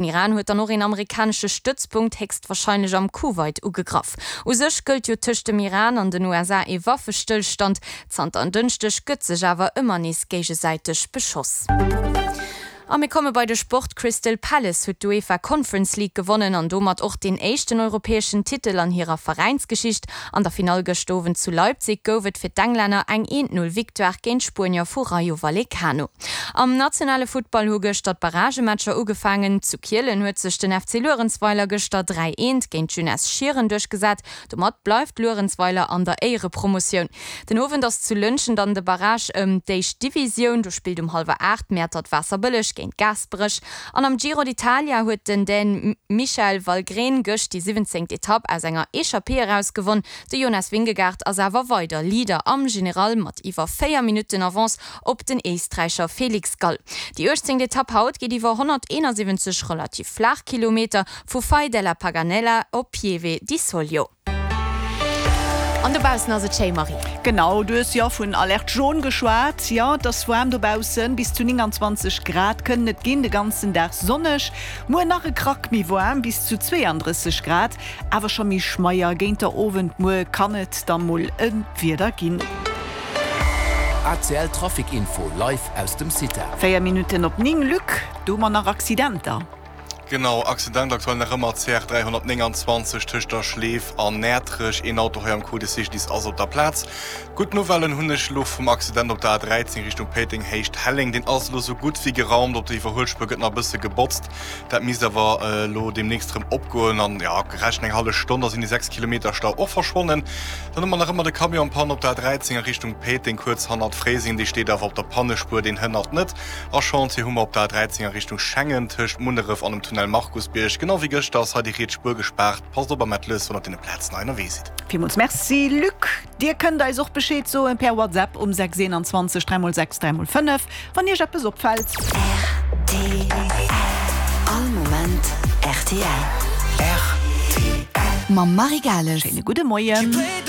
Den Iran huet dann och een amerikanesche Stëtzpunkt, héchstwarscheinlech am Kuwait, ugegraff. U sech gëllt jo tëscht dem Iran an den USA ee Waffestëllstand. Zanter en Dënschdeg gëtt sech awer ëmmer nees géigesäiteg beschoss. A mir komme bei de Sport, Crystal Palace huet d'UEFA Conference League gewonnen an domat och deen éischten europäeschen Titel an hirer Veräinsgeschicht. An der Finall gëscht Owend zu Leipzig gouf et fir d'Englänner eng 1-0 Victoire géint d'Spuenier vu Rayo Vallecano. Am nationale Futtball hu gëschter d'Barragematcher ugefaangen. Zu Kielen huet sech den FC Luerenzweiler gëschter 3, 1 géint d'Jeunesse Schieren duerchgesat. Domat bleift Luerenzweiler an der Éierepromotioun. Den Owend ass zu Lëntgen dann de Barrage ëm d'éischt Divisioun. Do spillt um hallwer 8 Mäertert-Waasserbëlleg géint Gaasperech. An am Giro d'Italia huet den Dän Michael Valgren gëscht déi siwwenzéngt Etapp aus enger Echappée eraus gewonn. De Jonas Vingegaard ass awer weider Leader am General mat iwwer 4 Minutten Avance op den Éisträicher Felix Gall. Déi uechtzéngt Etapp haut geet iwwer 171 relativ flaach Kilometer vu Fai della Paganella op Pieve di Soglio. An dobaussen ass et schéi, Marie. Genau, du hues jo vun Alerte jaune geschwat. Jo, et ass waarm dobaussen, bis zu 29 Grad kënnen et ginn, de ganzen Dag sonneg. Muer nach e Krack méi waarm, bis zu 32 Grad, awer scho méi schmeier. Géint der Owend muer kann et da mol e Wieder ginn. ACL Trafic Info live aus dem CITA. 4 Minutten op 9, Luc, do hu mer nach Accidenter. Genau, Accident aktuell nach ëmmer CR 329 tëscht der Schleef an Näertrech. Een Auto hei am Coup de Cycliste ass op der Plaz. Gutt Nouvellen hunn ech elo vum Accident op der A13 Richtung Péiteng Héicht Helleng. Deen ass elo sou gutt wéi geraumt. Op der Iwwerhuelspuer gëtt nach e bësse gebotzt. Dat misst awer elo deemnächst erëm opgoen an jo, gerechent eng hallef Stonn, da sinn déi 6 Kilometer Stau och verschwonnen. Dann hu mer nach ëmmer de Camion en panne op der A13 a Richtung Péiteng kuerz hannert Fréiseng. Dee steet awer op der Pannespuer, deen hënnert net. A Chantier hu mer op der A13 a Richtung Schengen tëscht Munneref an dem Tunnel Markusbierg. Genau wéi gëschter ass hei déi riets Spuer gespaart. Passt op a maacht lues, wann der op deene Plazen hei ënnerwee sidd. Villmools Merci Luc. Dir kënnt eis och Bescheed soen per WhatsApp um 6 21 3 x 6 3 x 5, wann Iech eppes opfält. Rtl, All Moment rtl. Rtl. Mam Marie Gales. Schéine gudde Moien.